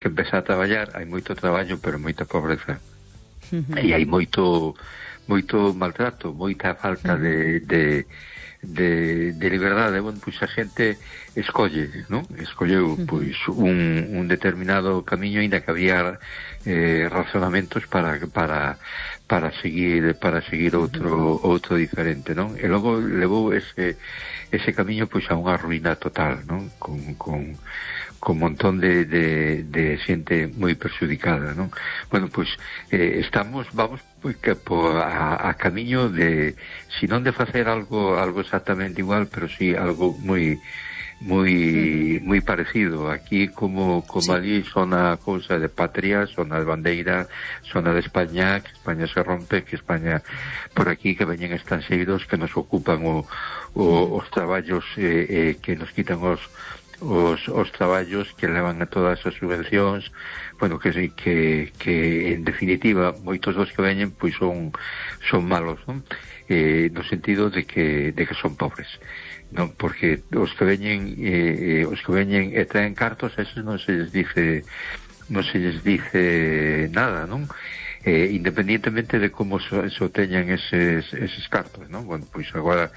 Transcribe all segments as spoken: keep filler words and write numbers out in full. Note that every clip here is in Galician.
que empeza a traballar, hai moito traballo, pero moita pobreza. Uh-huh. E hai moito moito maltrato, moita falta uh-huh. de, de, de, de liberdade. Bueno, pois a xente escolle, non? Escolleu, uh-huh. pois, un, un determinado camiño, ainda que había eh, razonamentos para, para, para seguir para seguir outro, uh-huh. outro diferente, non? E logo levou ese, ese camiño, pois, a unha ruína total, non? Con... con con un montón de, de, de xente moi perxudicada, non? Bueno, pois eh, estamos, vamos pois, que, po, a, a camiño de, si non de facer algo algo exactamente igual, pero si sí algo moi moi moi parecido. Aquí como como sí. Ali son a cousa de patria, son a bandeira, son a de España, que España se rompe, que España por aquí, que veñen estranxeiros que nos ocupan o, o, os traballos eh, eh, que nos quitan os Os, os traballos, que levan a todas as subvencións, bueno, que que, que en definitiva moitos dos que veñen pois son son malos, non? Eh, no sentido de que de que son pobres, non? Porque os que veñen eh, os que veñen e traen cartos, esos non se les dice non se les dice nada, non? Eh, independientemente de como so, so teñan eses, eses cartos, non? Bueno, pois agora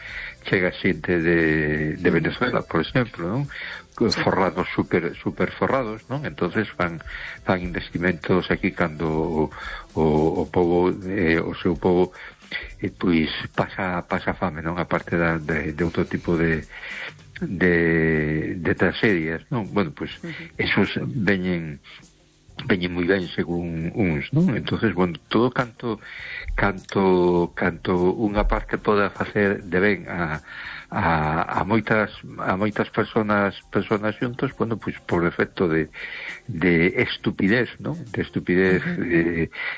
chega xente de, de Venezuela, por exemplo, non? Forrados, super super forrados, non? Entonces fan fan investimentos aquí cando o, o, o povo eh, o seu povo eh, pois pasa pasa fame, non? A parte da, de, de outro tipo de de, de tragedias, non? Bueno, pois esos veñen veñen moi ben según uns, non? Entonces, bueno, todo canto canto canto unha parte poda facer de ben a a, a moitas a moitas personas personas xuntos, bueno, pois por efecto de de estupidez, non? De estupidez uh-huh. de,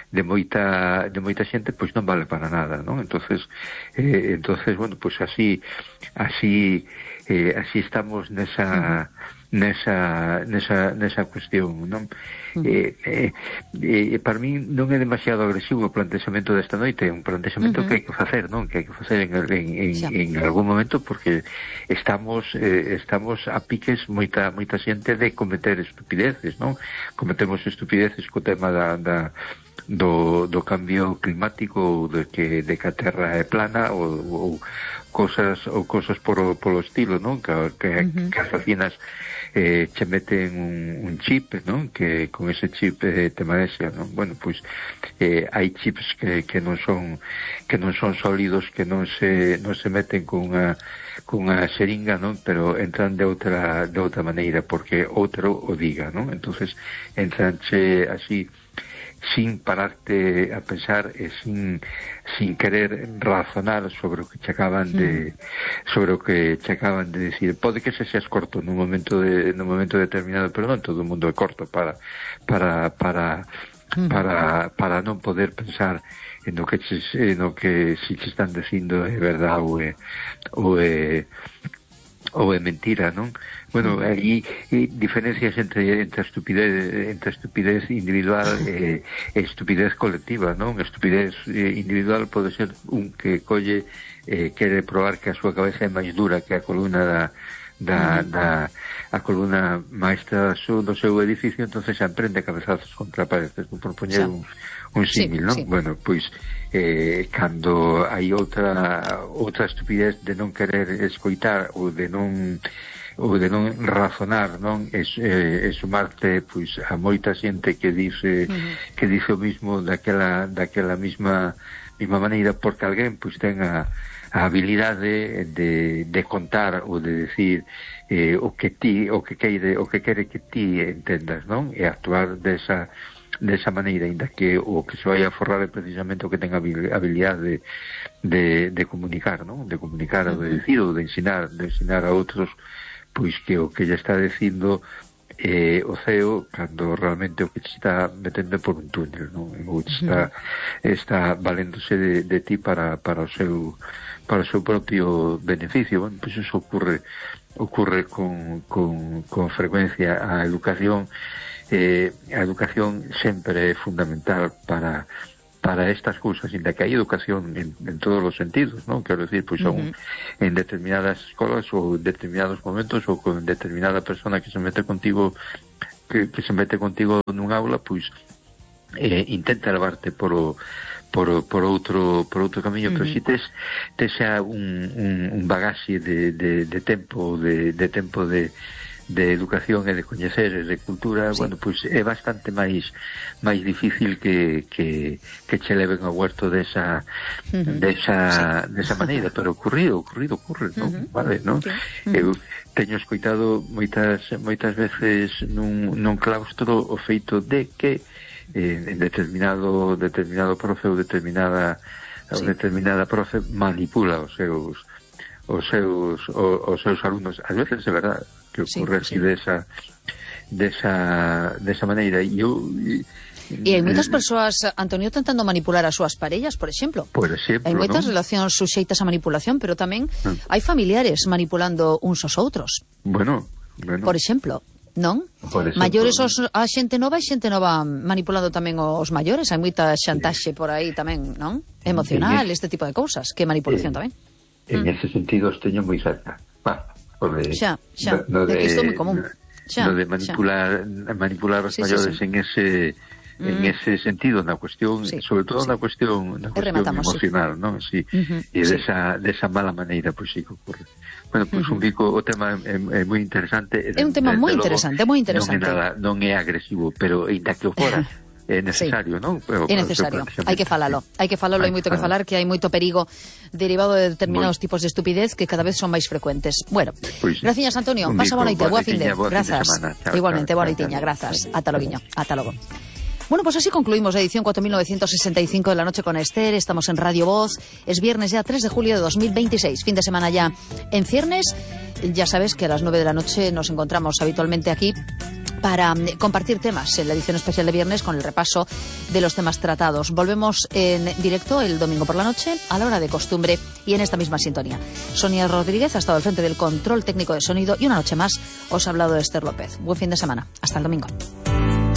de moita de moita xente, pois non vale para nada, non? Entonces, eh, entonces, bueno, pois así así eh, así estamos nesa uh-huh. nesa nesa nesa cuestión, non? Uh-huh. Eh, eh, eh, para mí non é demasiado agresivo o plantexamento desta noite, é un plantexamento uh-huh. que hai que facer, non? Que hai que facer en, en, en, en algún momento, porque estamos eh, estamos a piques moita moita xente de cometer estupideces, non? Cometemos estupideces co tema da, da do, do cambio climático, de que, de que a Terra é plana, ou, ou cosas ou cosas por, polo estilo, non? Que, que, uh-huh. que as vacinas eh, che meten un, un chip, non? Que con ese chip eh, te marexa, non? Bueno, pois eh, hai chips que, que non son que non son sólidos, que non se non se meten con unha con unha xeringa, non? Pero entran de outra de outra maneira, porque outro o diga, non? Entonces entranche así sin pararte a pensar e sin sin querer razonar sobre o que che acaban de sobre o que che acaban de decir. Pode que se seas corto nun momento de nun momento determinado, pero non todo o mundo é corto para para para para para non poder pensar en o que che, en o que si che están dicindo é verdade ou é ou é ou é mentira, non? Bueno, aí eh, diferencias entre entre a estupidez entre a estupidez individual e eh, estupidez colectiva, non? Estupidez eh, individual pode ser un que colle eh, quere probar que a súa cabeza é máis dura que a columna da da, da a columna maestra do, do seu edificio, entonces se emprende cabezazos contra paredes, por poñer un, un símil, sí, non? Sí. Bueno, pois eh, cando hai outra outra estupidez de non querer escoitar ou de non ou de non razonar, non? É, é, é sumarte pois a moita xente que dice uh-huh. que dice o mismo daquela daquela mesma mesma maneira, porque alguén pois ten a, a habilidade de, de contar ou de decir eh, o que ti o que queire o que quere que ti entendas, non? E actuar desa desa maneira, ainda que o que se vai a forrar é precisamente o que ten a habilidade de, de, de comunicar, non? De comunicar uh-huh. ou de decir ou de ensinar de ensinar a outros pois que o que lle está dicindo eh, o C E O, cando realmente o que se está metendo por un túnel, non? O que está, está valéndose de, de ti para, para o seu para o seu propio beneficio. Bueno, pois eso ocurre ocurre con, con, con frecuencia. A educación eh, a educación sempre é fundamental para para estas cousas, ainda que hai educación en, en todos os sentidos, non? Quero decir, pois son uh-huh. en determinadas escolas ou en determinados momentos ou con determinada persona que se mete contigo que, que se mete contigo nun aula, pois eh, intenta levarte polo por, por outro por outro camiño, uh-huh. pero si tes tes xa un, un, un bagaxe de, de, de tempo de, de tempo de de educación e de coñecer e de cultura, sí. bueno, pois é bastante máis máis difícil que, que, que che leven ao huerto desa uh-huh. desa, sí. desa maneira, pero ocurrido, ocurrido, ocurre, non? Uh-huh. Vale, non? Sí. Uh-huh. Eu teño escoitado moitas moitas veces nun, nun claustro o feito de que eh, en determinado determinado profe ou determinada sí. ou determinada profe manipula os seus os seus os, os seus alumnos, ás veces é verdade que ocurre sí, así sí. desa desa desa maneira e eu E hai moitas persoas, Antonio, tentando manipular as súas parellas, por exemplo. Por exemplo, hai moitas ¿no? relacións suxeitas a manipulación, pero tamén mm. hai familiares manipulando uns aos outros. Bueno, bueno. Por exemplo, non? Por exemplo, maiores os, a xente nova e xente nova manipulando tamén os maiores. Hai moita xantaxe por aí tamén, non? Emocional, este tipo de cousas, que manipulación eh, tamén. En mm. ese sentido os teño moi cerca. Va, de, xa, xa, no de, de que isto é moi común. Xa, no de manipular xa. manipular os sí, maiores sí, sí. en ese en mm. ese sentido, na cuestión, sí, sobre todo sí. na cuestión, na cuestión emocional, sí. non? Sí. Uh-huh, e desa sí. desa mala maneira, pois pues, sí que ocurre. Bueno, pois pues, uh-huh. un bico, o tema é, é moi interesante. É un tema moi interesante, moi interesante. Non é nada, non é agresivo, pero ainda que o fora é necesario, sí. non? Pero, é necesario, hai que falalo, hai que falalo, hai moito que falar, que hai moito perigo derivado de determinados muy... tipos de estupidez que cada vez son máis frecuentes. Bueno, pues, gracias Antonio, pasa boa noite, boa fin de, grazas. Igualmente, boa noitiña, grazas. Ata logo, ata logo. Bueno, pues así concluimos la edición cuatro mil novecientos sesenta y cinco de La Noche con Esther. Estamos en Radio Voz. Es viernes ya tres de julio de dos mil veintiséis. Fin de semana ya en ciernes. Ya sabes que a las nueve de la noche nos encontramos habitualmente aquí para compartir temas en la edición especial de viernes con el repaso de los temas tratados. Volvemos en directo el domingo por la noche a la hora de costumbre y en esta misma sintonía. Sonia Rodríguez ha estado al frente del control técnico de sonido y una noche más os ha hablado Esther López. Buen fin de semana. Hasta el domingo.